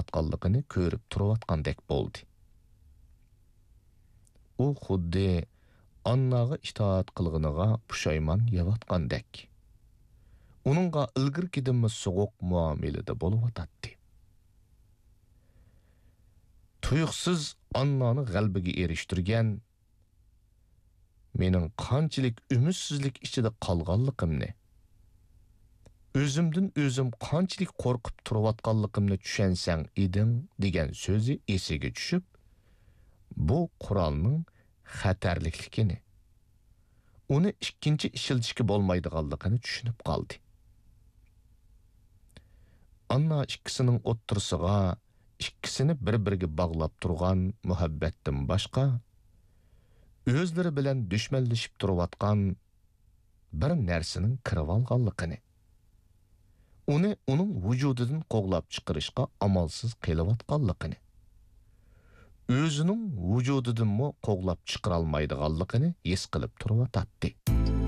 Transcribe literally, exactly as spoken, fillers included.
قىلىۋاتقانلىقىنى كۆرۈپ تۇرۇۋاتقاندەك بولدى. ئۇ خۇددى ئانناغا ئىتائەت قىلغىنىغا پۇشايمان يەۋاتقاندەك، ئۇنىڭغا ئىلگىرىكىدىنمۇ سوغۇق مۇئامىلىدە بولۇۋاتاتتى. تۇيۇقسىز ئاننانى غەلىبىگە ئېرىشتۈرگەن، مېنىڭ قانچىلىك ئۈمىدسىزلىك ئىچىدە قالغانلىقىمنى، ئۆزۈمدىن ئۆزۈم قانچىلىك قورقۇپ تۇرۇۋاتقانلىقىمنى چۈشەنسەڭ ئىدىڭ، دېگەن سۆزى ئېسىگە چۈشۈپ، بۇ قورالنىڭ خەتەرلىكلىكىنى، ئۇنى ئىككىنچى ئىشلىتىشكە بولمايدىغانلىقىنى چۈشىنىپ قالدى. ئاننا ئىككىسىنىڭ ئوتتۇرىسىغا ئىككىسىنى بىر-بىرىگە باغلاپ تۇرغان مۇھەببەتتىن باشقا، ئۆزلىرى بىلەن دۈشمەنلىشىپ تۇرۇۋاتقان بىر نەرسىنىڭ كىرىۋالغانلىقىنى، ئۇنى ئۇنىڭ ۋۇجۇدىدىن قوغلاپ چىقىرىشقا ئامالسىز قېلىۋاتقانلىقىنى، ئۆزىنىڭ ۋۇجۇدىدىنمۇ قوغلاپ چىقىرالمايدىغانلىقىنى ھېس قىلىپ تۇرۇۋاتاتتى.